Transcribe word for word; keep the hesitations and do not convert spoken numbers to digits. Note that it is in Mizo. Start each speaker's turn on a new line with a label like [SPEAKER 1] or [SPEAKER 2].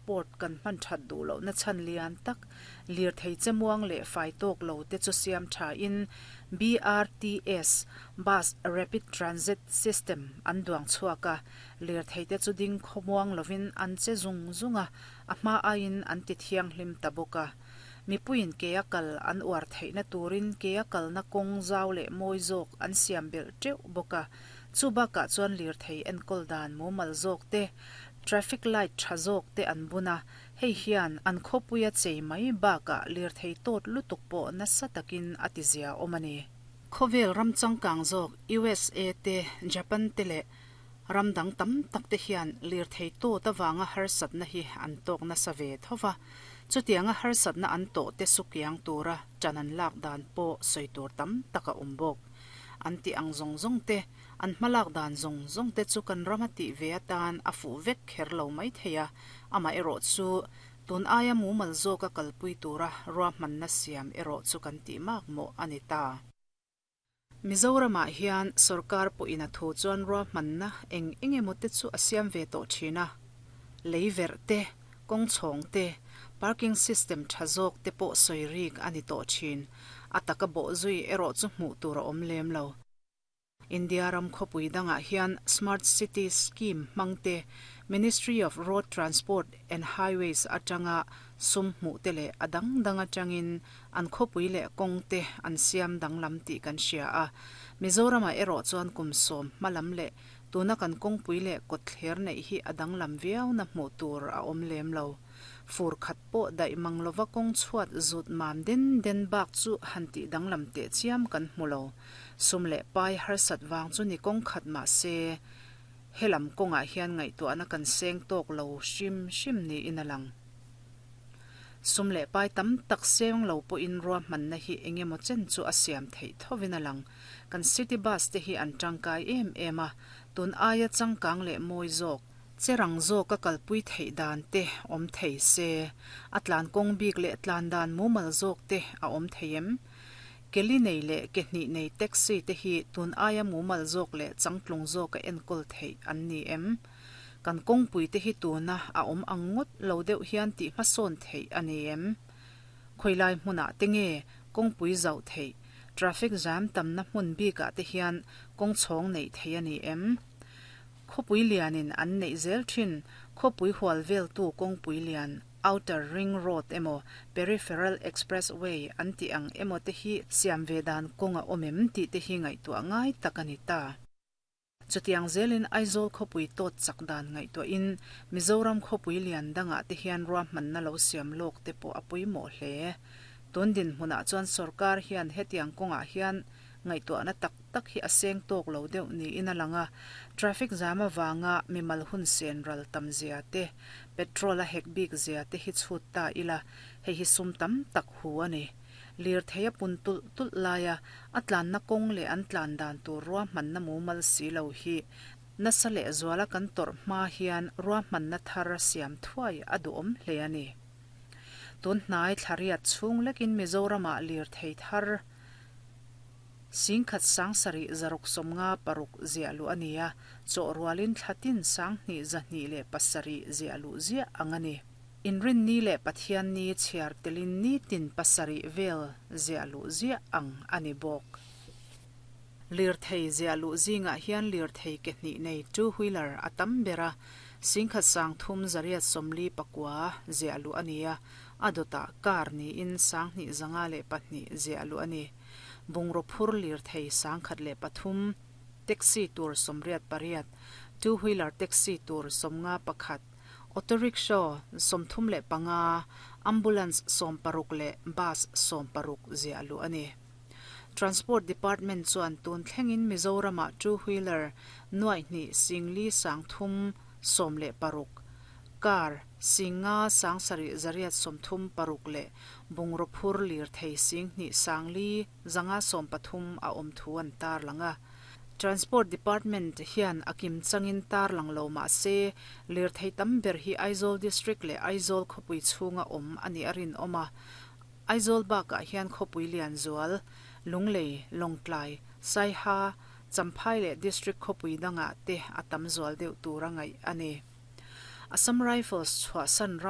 [SPEAKER 1] transport kan hman that duh loh na chhan lian tak lirthei che muang leh fai tawk lo te chu siam tha in B R T S, Bus Rapid Transit System, an duang chhuak a. Lirthei te chu ding khawmuang lovin an che zung zung a, a hma aiin an ti thianghlim ta bawk a. Mipuiin ke a kal an uar theihna turin ke a kalna kawng zau leh mawi zawk an siam belh teuh bawk a. Chu bakah chuan lirthei enkawl dan mumal zawk te, traffic light tha zawk te an bun a. Hei hian an khawpuia chei mai bakah lirthei tawt lutuk pawh nasa takin a ti zia awm a ni. Khawvel ram changkang zawk U S A te, Japan te leh ram dang tam tak te hian lirthei tawt awanga harsatna hi an tawk nasa ve thova. Chutianga harsatna an tawh te sukiang tura ṭan an lak dan pawh sawi tur tam tak a awm bawk. An ti ang zawng zawng te, an hmalak dan zawng zawng te chu kan rama tih ve atan a fuh vek kher lo mai thei a. Amah erawh chu tun aia mumal zawk a kalpui tura ruahmanna siam erawh chu kan tih mak mawh a ni ta. Mizoramah hian sorkar pawhin a thu chuan ruahmanna eng eng emaw te chu a siam ve tawh thin a. Lei verh te, kawng chhawng te, parking system tha zawk te pawh sawi rik a ni tawh thin. A taka bawh zui erawh chu hmuh tur a awm lem lo. India ram khawpui dangah hian Smart City Scheme hmangte, Ministry of Road Transport and Highways atanga sum hmuh te leh a dang dang atangin an khawpui leh kawng te an siam danglam tih kan hria a. Mizoramah erawh chuan kum sawm hmalam leh tuna kan kawngpui leh kawtthler neih hi a danglam viau na hmuh tur a awm lem lo. Fur khat pawh daih mang lova kawng chhuat zut mam den den bak chu han tih danglam teh chiam kan hmu lo. Sum leh pai harsat wang chu ni kawng khat ma se helam kawngah hian ngaihtuahna kan seng tawk lo hrim hrim ni in a lang. Sum leh pai tam tak seng lo pawhin ruahmanna hi engemaw chen chu a siam theih thovin a lang. Kan city bus te hi an tangkai em em a. Tun aia changkang leh mawi zawk, cherang zawk a kalpui theih dan te awm thei se, a tlan kawng bik leh tlan dan mumal zawk te a awm thei em? Keli nei leh ke hnih nei taxi te hi tun aia mumal zawk leh changtlung zawk a enkawl theih an ni em? Kan kawngpui te hi tuna a awm ang ngawt lo deuh hian tih hmasawn theih a ni em? Khawilai hmunah te nge kawngpui zauh theih? Traffic jam tamna hmun bikah te hian kawng chhawng neih thei a ni em? Khawpui lianin an neih zel thin khawpui hual vel tu kawngpui lian, Outer Ring Road emaw Peripheral Expressway an tih ang emaw te hi siam ve dan kawng a awm em tih te hi ngaihtuah ngai tak a ni ta. Chutiang zelin Aizawl khawpui tawt chak dan ngaihtuahin Mizoram khawpui lian dangah te hian ruahmanna lo siam lawk te pawh a pawimawh hle. Tun din hmunah chuan sorkar hian hetiang kawngah hian ngaihtuahna tak tak hi a seng tawk lo deuh niin a lang a. Traffic jam awanga mimal hun sen ral tam zia te, petrol a hek bik zia te hi chhut ta ila, hei hi sum tam tak hu a ni. Lirthei a pun tulh tulh laia a tlanna kawng leh an tlan dan tur ruahmanna mumal si lo hi nasa leh zuala kan tawrh hma hian ruahmanna thar siam thuai a duhawm hle a ni. Tun hnai thlariat chhung lekin Mizoramah lirthei thar singkhat sang sarih zaruk sawmnga paruk ziah luh a ni a. Chaw rualin thlatin sang hnih zahnih leh pasarih ziah luh ziah ang a ni. Inrin ni leh Pathian ni chhiar telin ni tin pasarih vel ziah luh ziah ang a ni bawk. Lirthei ziah luh zingah hian lirthei ke hnih nei, two wheeler, a tam bera. Singkhat sang thum zariat sawmli pakua ziah luh a ni a. A dawtah car niin sang hnih zanga leh pahnih ziah luh a ni. Bungraw phur lirthei sangkhat leh pathum, taxi tur sawmriat pariat, two wheeler taxi tur sawmnga pakhat, auto rickshaw sawmthum leh panga, ambulance sawm paruk leh bus sawm paruk ziah luh a ni. Transport Department chuan tun thlengin Mizoramah two wheeler nuai hnih singli sang thum sawm leh paruk, car singa sang sarih zariat sawmthum paruk leh bungraw phur lirthei sing hnih sangli zanga sawm pathum a awm thu an tar langa. Transport Department hian a kim changin tar lang lo ma se lirthei tam ber hi Aizawl District leh Aizawl khawpui chhunga awm ani a rin awma. Aizawl bakah hian khawpui lian zual Lunglei, Lawngtlai, Saiha, Champhai leh District khawpui dangah te a tam zual deuh tur a ngaih a ni. Assam Rifles chhuahsan ram